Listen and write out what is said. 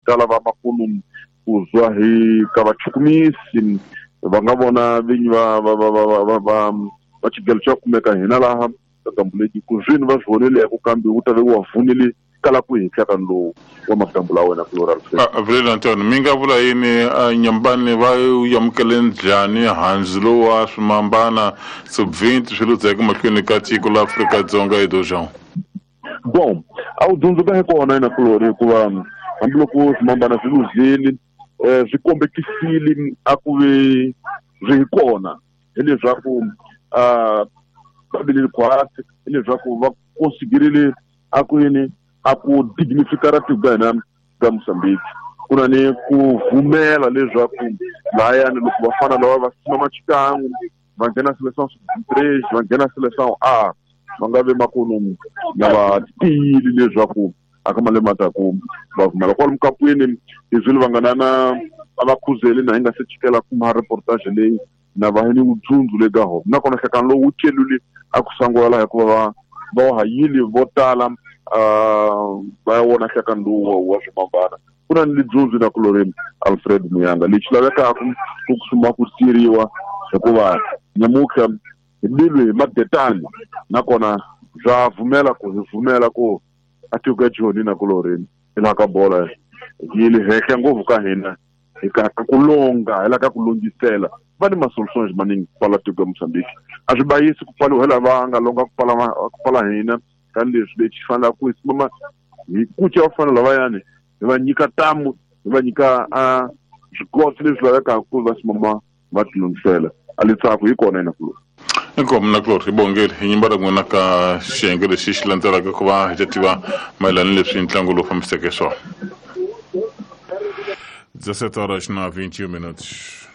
ta lava makulu ku zwa hi ka vachukumisi va nga vona vinyi va va va va va va va va xigelo xa kumeka hina laha ka gambuleki ku zwini va swi voneleko kambe wu ta ve wa vunile kala ku hi nhlakani lowu wa magambu la wena plural. Avril Anton, mi nga vula yini nyambani va amukele njhani handzu lowu wa swimambana sub-20 swi ludzeke mahlweni ka tiko la Afrika-Dzonga hi Dojão? Bon, a wu dzundzuka hi kona ina kulori hikuva hambiloko swimambana swi luzile swi kombekisile a ku ve swi hi kona hileswaku va vileli khwatsi hileswaku va konsiderile a ku yini a ku dignifikara tiko ka hina ka Mozambique ku na ni ku vumela leswaku lahayani loko vafana lava va simama xikan'we va nghena seleção sub-23 va nghena seleção A va nga ve makunu na va tiyile leswaku a ka malembe mataku va vumela kwalomu kapwini hi zwile va nga na na a va khuzeli na hi nga se chikela kuma reportage leyi na va ni vudzundzu le ka hona nakona nhlekano lowu wu celule a ku sangula hikuva va va hayile vo tala va ya wona nhlekano lowu wa swimambana ku na ni lidzundzu na kuloreni Alfred Muyanga lexi lavekaka ku suma ku siriwa hikuva nyamutlha hi bilwi hi madetani nakona bya vumela ku hi vumela ku a tiko ya Joni na kuloreni hi laha ka bola yi le henhla ngopfu ka hina hi ka ku longa hi la ka ku longisela va ni ma-solutions maningi ku pfala tiko ya Mozambique a swi bayisi ku pfaliwa hi lava nga longa ku pfala ku pfala hina tanihileswi lexi fanelaka ku hi simama hi kuca vafana lavayani hi va nyika tamu hi va nyika a swikotsi leswi lavekaka ku va simama va tilunghisela a litsako hi kona ina kuloni. Inkomu na kulori hi bongeli hi nyimba ra n'wina ka xiyenge lexi xi landzelaka ku va hi ta tiva mayelana ni leswi ntlangu lowu fambiseke swona. 17 horas na 21 minutos.